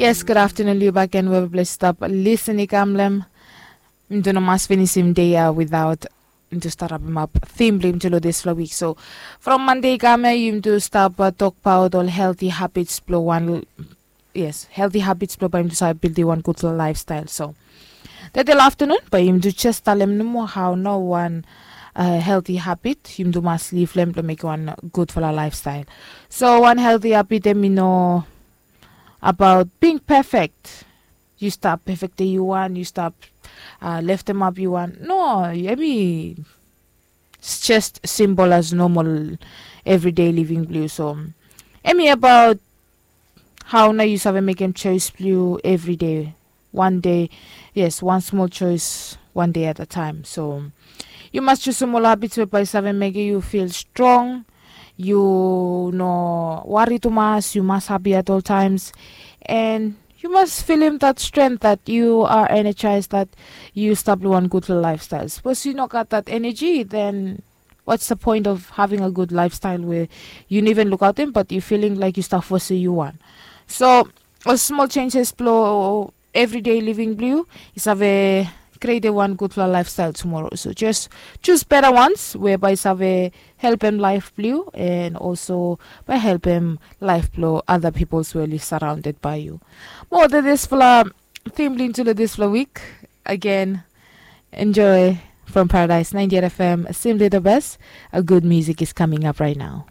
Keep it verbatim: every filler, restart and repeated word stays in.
Yes, gud aftenun long yu bakegen we yupela i stap lisin i kam long em. Yumi tu no mas finisim dei ya without yumi tu stap rapim ap tim blong yumi tu long dispela wik. So from Mande i kam ya yumi tu stap tokbaot ol healthy habits blong wan, yes, healthy habits blong bai yumi tu save bildim wan gudfala laifstail. So tedei long aftenun bai yumi tu jes talem nomo hau nao wan healthy habit yumi tu mas liv long em blong mekim wan gudfala laifstail. So wan healthy habit em i no abaot bing pefek. Yu stap pefek de yu wan, yu stap leftemap yu wan. No, em i jes simbol as nomol evridei living blong yu. So em i abaot hau nao yu save mekem chois blong yu evridei. Wan dei, yes, wan smol chois, wan dei at a taem. So yu mas jusum ol habits we bai save mekem yu fil strong. Yu no wari tumas, yu mas hapi at ol taems. And yu mas filim dat strength dat yu are energized dat yu stap long wan gudfala laifstail. Sapos yu no gat dat energy, then what's the point of having a good lifestyle we yu no even lukaotim but yu filing laik yu stap fosim yu wan? So ol smol changes blong everyday living blong yu i save creatim wan gudfala lifestyle tomorrow. So just choose better ones we bai save helpem laif blong yu and also bai helpem laif blong other peoples we live surrounded by you. Mo de dispela theme blong into dispela week again. Enjoy from Paradise ninety-eight F M, simply the best. A good music is coming up right now.